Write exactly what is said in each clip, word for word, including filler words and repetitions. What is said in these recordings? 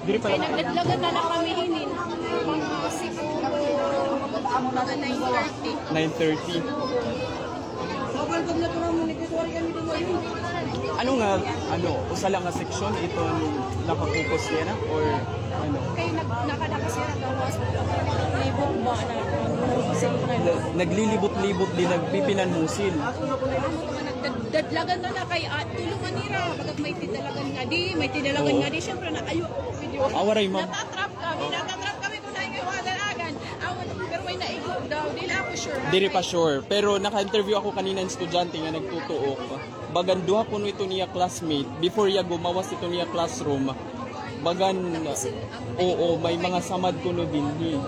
Diri pa. Kay nagdadlagan na la kami hinin. Siguro, mga nine thirty. Nine thirty. Ano nga, ano, usa la nga seksyon iton naka-focus niya na? Or, ano? Kay nag-, nakadaka siya na gawas. Libot ba na? Naglilibot-libot din, nagpipinanmusil. Dadlagan na la kay, ah, tulungan nira. Bagat may tidalagan nga di, may tidalagan nga di. Siyempre na, ayo, video. Ah, waray, ma'am. Natatrap kami, natatrap kami kung naay kay mga dalagan. Awan, pero may naigo daw. Di la ako sure, ha? Diri pa sure. Pero naka-interview ako kanina ng estudyante nga nagtutuok. Bagan duha kuno ito niya classmate. Before iya gumawas ito niya classroom. Bagan, oo, may mga samad kuno dinhi.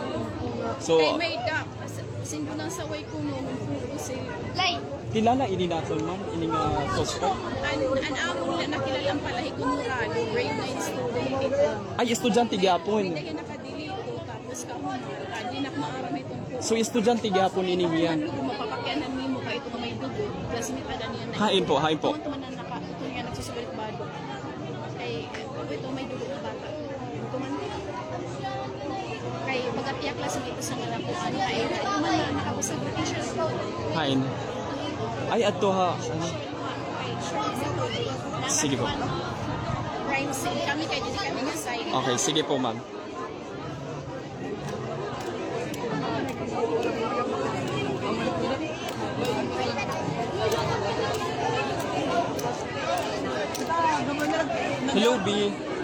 So, kay may da, As-, sindunan sa way kuno, kuno si Lay. Kilala ini naton, ma'am, ini nga suspect? An, an amon na nakilala an palahi kuno ra, grade nine student ito. Ay, estudyante gihapon. May daghan nakadili ito, tapos kahuna, ah, di na maaram ito. So, estudyante gihapon ini hiya? Ano, kung mapapakianan nimo, kay ito nga may dugo, classmate ada niya na. Hain po, hain po. Tuman-tuman na naka-, ito niya nagsusugalit bado. Kay, ito may dugo nga bata. Ito man. Kay, bagat iya classmate sa nga nakuan, ay, ito man na nakabusag na teacher. Hain. Ay, adto ha. Ano? Sige po. Crime scene. Kami kay, dili kami nga side. Okay, sige po, ma'am. Hello, B.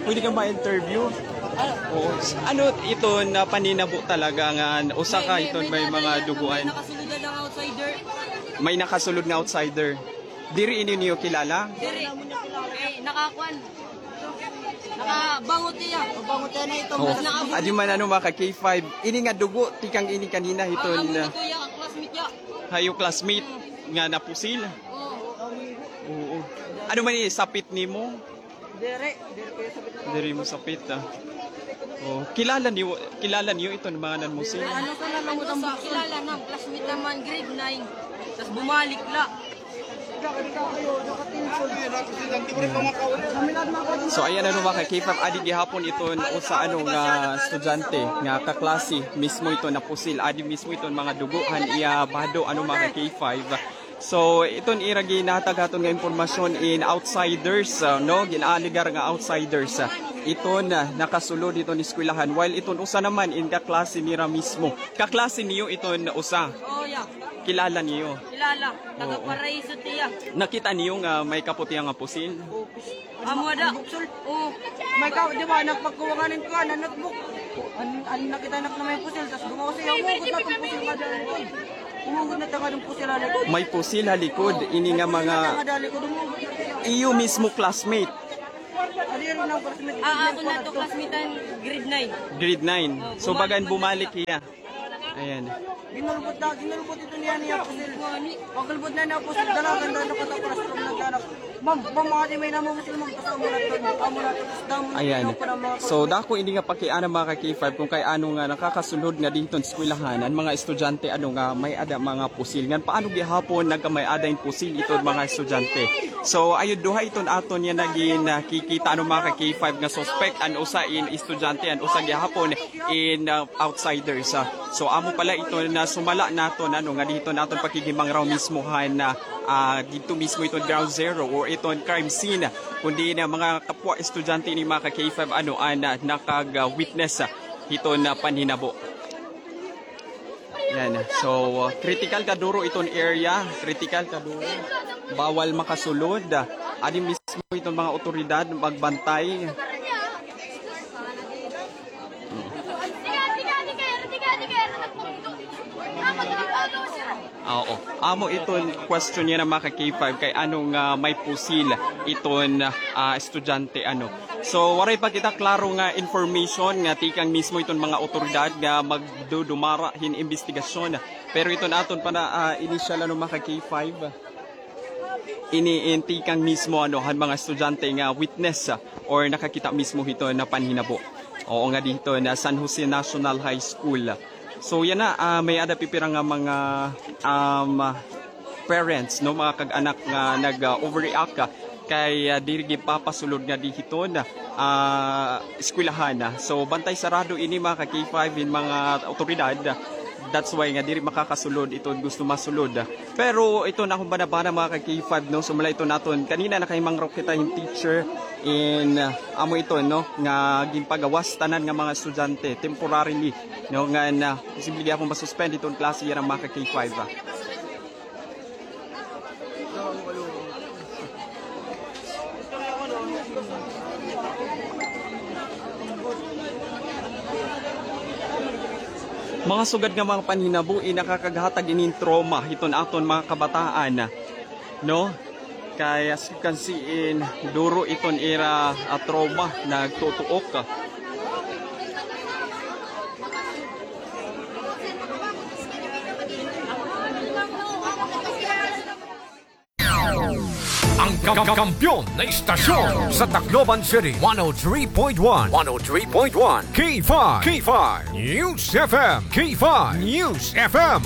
Pwede ka ma-interview? Oo. Ano ito na paninabo talaga nga usa ka ito may mga duguan? May nakasulod nga outsider. May nakasulod nga outsider. Diri ini niyo kilala? Diri. Ay, nakakuan. Nakabangot niya. Bangot niya na ito. Oh. Mas nakabangot. Adi man ano, mga ka K five. Ini nga dugo, tikang ini kanina hiton. Ang amo ni Kuya, ang classmate niya. Hayo classmate nga napusil. Oo. Oo. Ano man ini, sapit nimo? Diri, diri ko yung sapit na. Diri mo sapit, ah. Oh, kilala niyo, kilala niyo ito ng mga nanmusil? Ano sa nalungutan ba? Kilala na, classmate naman, grade nine. Tapos bumalik la. So, ayan na, mga ka K five, adi gihapon iton usa, ano, nga estudyante nga kaklase mismo iton napusil, adi mismo iton mga dugo han iya bado, ano, mga ka K five. So, iton ira ginhatag haton nga impormasyon in outsiders, ah, no, gin-alegar nga outsiders, ah, iton, ah, nakasulod iton eskwelahan, while iton usa naman in kaklase nira mismo. Kaklase niyo iton usa? Oh, yeah. Kilala niyo? Kilala. Taga Paraiso tiya. Nakita niyo nga may kaputihan nga pusil? Amo da. Oo. May ka, di ba, nagpagkuwangan ko, ano, notebook. An, an, nakita nak na may pusil, tas gumawa siya, umugot na itong pusil nga doon. Umugot na itong pusil ha likod. May pusil ha likod, ini nga mga iyo mismo classmate. Ah, ako na to, classmate an grade nine. Grade nine. So, bagan bumalik iya. Ayan. Ginulbot na, ginulbot ito niya niya pusil. Pagulbot na niya pusil, dalagan daw nakatapos from nagdanak. Ma'am, ma'am, mga di may namusil, ma'am, basta amo na ito, amo na ito, tapos damo na. Ayan. So, dako ini nga pakiana, mga ka K five, kung kay ano nga nakakasulod nga dinhi hiton eskwelahan an mga estudyante, ano, nga may-ada mga pusil. Ngan paano gihapon nagkamay-ada hin pusil iton mga estudyante? So, ayo duha iton aton nga nagin, ah, kikita, ano, mga ka K five, nga suspect, an usa in estudyante, an usa gihapon in, ah, outsiders, ah. So, amo pala ito na sumala naton, ano, nga dito naton pakigimangraw mismo han, ah, ah, dito mismo iton ground zero or iton crime scene. Kundi na mga kapwa estudyante ni mga ka K five, ano, an, ah, nakag, ah, witness, ah, hiton, ah, panhinabo. Yan. So, ah, critical kaduro iton area. Critical kaduro. Bawal makasulod. Adi mismo iton mga otoridad magbantay. Oo. Amo iton question niya na mga ka K five kay ano nga may pusil iton, ah, estudyante, ano. So, waray pa kita klaro nga information nga tikang mismo iton mga otoridad nga magdudumara hin imbestigasyon. Pero iton aton pa na, ah, initial, ano, mga ka K five. Ini in tikang mismo, ano, han mga estudyante nga witness, ah, or nakakita mismo hito na panhinabo. Oo, nga dito na San Jose National High School. So, yana, ah, may-ada pipira nga mga, um, parents, no, mga kag-anak nga nag, ah, overreact, ah, kay, ah, diri ginpapasulod nga di hiton, ah, ah, eskwelahan. So, bantay sarado ini, mga ka-K five, hin mga awtoridad. That's why nga diri makakasulod iton gusto masulod. Pero iton akon banabana, mga ka-K five, no, sumala iton aton kanina nakahimangrok kita hin teacher in, ah, amo iton, no, nga ginpagawas tanan nga mga estudyante temporarily, no, ngan, ah, posible gihapon ma-suspend iton klase yana, mga ka-K five, ah. Mga sugad nga mga panhinabo, eh, nakakaghatag inin trauma hiton aton mga kabataan, no? Kay as you can see in, duro iton ira, ah, trauma, nagtutuok. Ang kam-, kampiyon na istasyon sa Tacloban City, one oh three point one, one oh three point one, K five, K five News F M, K five News F M.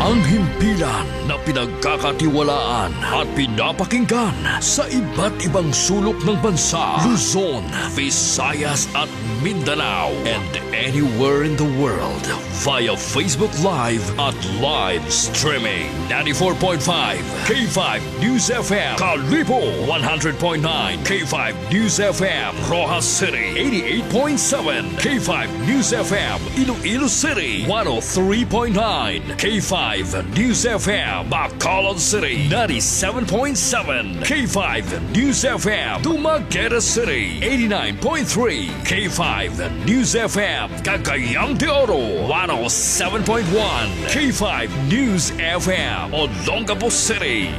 Ang himpilan na pinagkakatiwalaan at pinapakinggan sa iba't ibang sulok ng bansa, Luzon, Visayas at Mindanao, and anywhere in the world via Facebook Live at live streaming. Ninety-four point five K five News F M, Kalibo, one hundred point nine K five News F M, Roxas City, eighty-eight point seven K five News F M, Iloilo City, one oh three point nine K five News F M, Bacolod City, ninety-seven point seven K five News F M, Dumaguete City, eighty-nine point three K five News F M, Cagayan de Oro, one oh seven point one K five News F M, Olongapo City.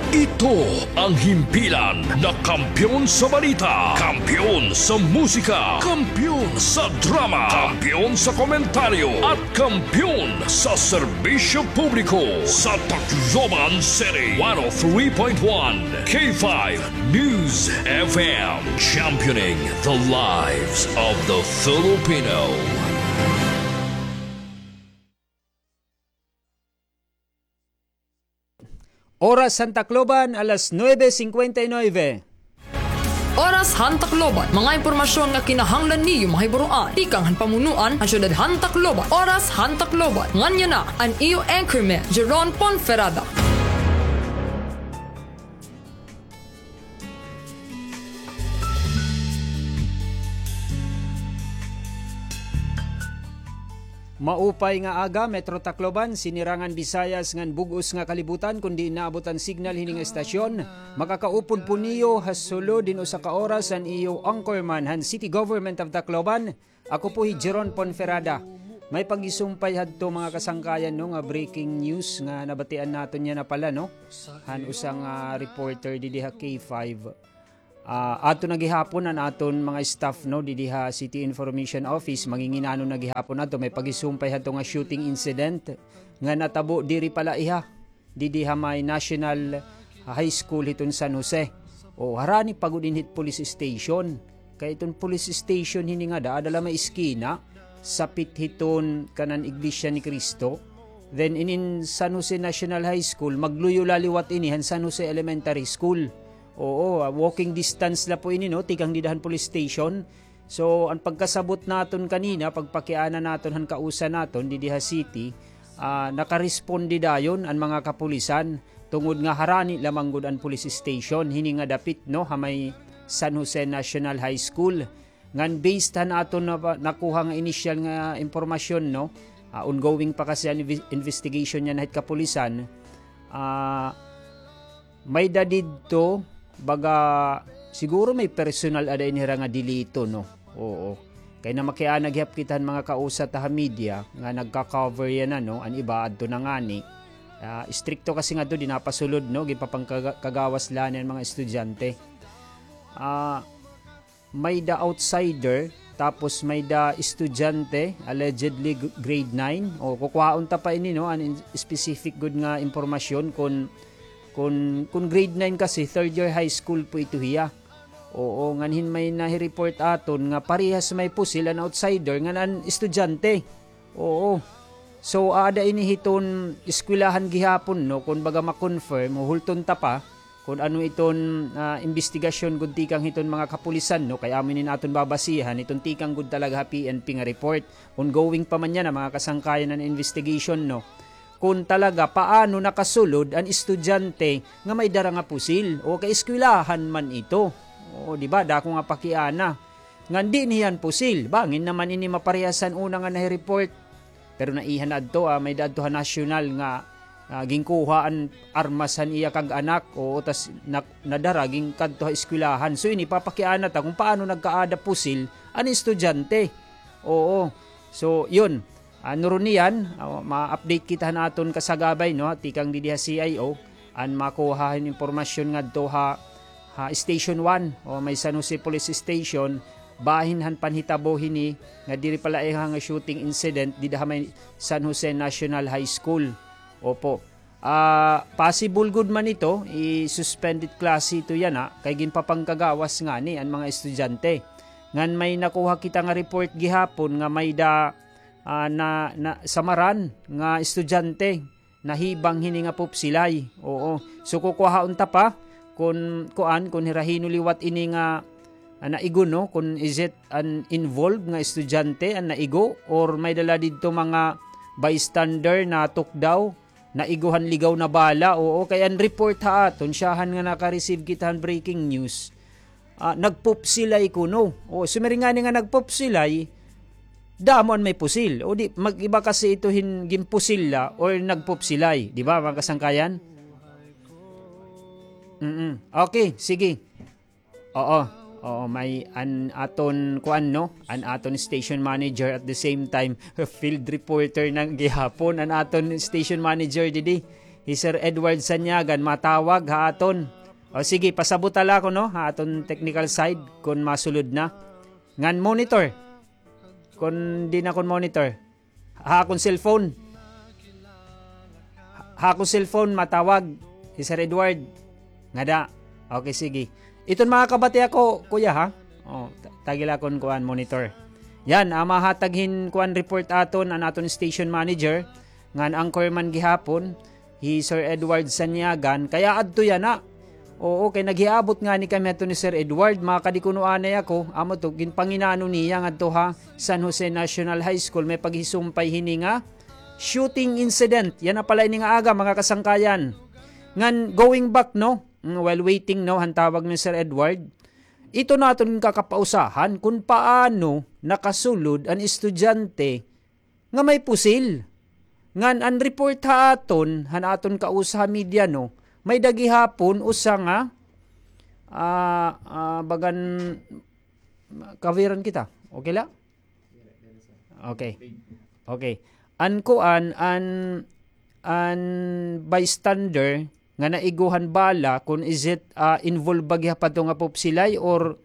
Ito ang himpilan na kampiyon sa balita, kampiyon sa musika, kampiyon sa drama, kampiyon sa komentaryo, at kampiyon sa serbisyo publiko sa Tacloban City, one oh three point one K five News F M, championing the lives of the Filipino. Oras han Tacloban, alas nuebe cincuenta y nueve. Oras han Tacloban, mga impormasyon nga kinahanglan niyo mahibaroan tikang han pamunuan han syudad han Tacloban. Oras han Tacloban, ngan yana an iyo anchorman, Jeron Ponferrada. Maupay nga aga, Metro Tacloban, Sinirangan Visayas ngan bug-os nga kalibutan. Kon diin naabot an signal hini nga estasyon, makakaupod po niyo ha sulod hin usa ka oras an iyo anchorman han City Government of Tacloban. Ako po hi Jeron Ponferrada. May pagisumpay hadto, mga kasangkayan, no, nga breaking news nga nabatian naton yana pala, no, han usa nga reporter didi ha K five. Ah, ato na gihapon an aton mga staff, no, didi ha City Information Office, manginginano na gihapon ato, may pagisumpay hadto nga shooting incident nga natabo diri pala iha, didi ha may National High School hiton San Jose. O, harani pa gud ini hit police station. Kay iton police station hini ngada, ada la may iskina, sapit hiton kanan Iglesia ni Cristo. Then, inin San Jose National High School, magluyo la liwat ini han San Jose Elementary School. Oo, ah, walking distance la po ini, no, tikang dida han police station. So, an pagkasabot naton kanina, pagpakiana naton han kausa naton didi ha city, ah, nakaresponde dayon an mga kapulisan, tungod nga harani la man gud an police station hini nga dapit, no, ha may San Jose National High School. Ngan based han aton na-, nakuha nga inisyal nga impormasyon, no, ah, ongoing pa kasi an inve-, investigation yana hit kapulisan. Ah, may-ada didto, baga, siguro may personal ada ini hira nga delito, no? Oo. Kay namakiana gihap kita han mga kausa ta ha media nga nagka-cover yana, no? An iba adto na ngani. Ah, istrikto kasi ngadto, diri napasulod, no? Ginpapangkaga-, kagawas la an mga estudyante. Ah, may-ada outsider, tapos may-ada estudyante, allegedly g-, grade nine. O, kukuhaon ta pa ini, no, an in-, specific gud nga impormasyon kon, kon, kon grade nine kasi, third year high school po ito hiya. Oo, ngan hin may nahi-report aton nga parehas may pusil an outsider ngan an estudyante. Oo. So, aada ini hiton eskwelahan gihapon, no, kon baga ma-confirm, huhulton ta pa. kun ano iton, ah, imbestigasyon gud tikang hiton mga kapulisan, no? Kay amo ini an aton babasihan, iton tikang gud talaga ha P N P nga report. Ongoing pa man yana, mga kasangkayan, an investigation, no? Kun talaga, paano nakasulod an estudyante nga may dara nga pusil? O kay eskwelahan man ito. O, di ba? Dako nga pakiana. Ngan di niyan pusil. Bangin naman ini maparehas han una nga nahi-report. Pero naiha na adto, ah, may-ada adto ha nasyonal nga, ah, ginkuha an armas han iya kag-anak. Oo, tas na-, nadara ginkadto ha eskwelahan. So, ini papakiana ta kung paano nagkaada pusil an estudyante. Oo. So, yun. Ah, nuron niyan, ah, ma-update kita han aton kasagabay, no? Tikang didi ha C I O, an makuha hin impormasyon ngadto ha, ha Station one, o may San Jose Police Station, bahin han panhitabo hini nga diri pala iha nga shooting incident dida ha may San Jose National High School. Opo. Ah, possible gud man ito, i-suspended klase ito yana, kay ginpapangkagawas ngani an mga estudyante. Ngan may nakuha kita nga report gihapon nga may-ada, ah, na, na, samaran nga estudyante nahibang hini nga pupsilay. Oo. So, kukuhaon ta pa kun kuan, kun hira hin-o liwat ini nga, ah, naigo, no? Kun is it an involved nga estudyante an naigo or may-ada la didto mga bystander natukdaw, naigo han ligaw na bala. Oo, kay an report ha aton, syahan nga naka-receive kita han breaking news. Ah, nagpupsilay kuno. O, sumiring ngani nga nagpupsilay, damo an may pusil. O di, mag-iba kasi ito hin ginpusil la or nagpupsilay. Di ba, mga kasangkayan? Mm-mm. Okay, sige. Oo. Oo, may an aton kuan, no? An aton station manager at the same time, field reporter na gihapon. An aton station manager, didi, hi Sir Edward Sanyagan, matawag ha aton. O sige, pasabota la ako, no? Ha aton technical side, kun masulod na. Ngan monitor. Kun di na kun monitor. Ha akon cellphone. Ha akon cellphone, matawag hi Sir Edward. Ngada. Okay, sige. Iton mga kabati ako, kuya, ha? O, ta-, tagi la akon kuan, monitor. Yan, ah, mahatag hin kuan report aton, an aton station manager, ngan anchorman gihapon, hi Sir Edward Sanyagan, kay aadto yana. Oo, kay naghiabot ngani kami hadto ni Sir Edward, makadi kuno anay ako, amo to, ginpanginano niya ngadto ha San Jose National High School, may paghisumpay hini nga shooting incident. Yana pala ini nga aga, mga kasangkayan. Ngan, going back, no? Mm, while waiting, no, han tawag ni Sir Edward, ito na aton kakapausahan kun paano nakasulod an estudyante nga may pusil. Ngan an report ha aton, han aton kausa ha media, no, may-ada gihapon usa nga, ah, ah, bagan, kawiran kita. Okay la? Okay. Okay. An kuan, an, an bystander nga naigo han bala, kun is it, ah, involved ba gihapon nga pupsilay or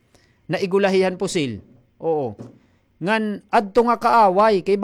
naigo la hiya han pusil? Oo. Ngan adto nga kaaway, kay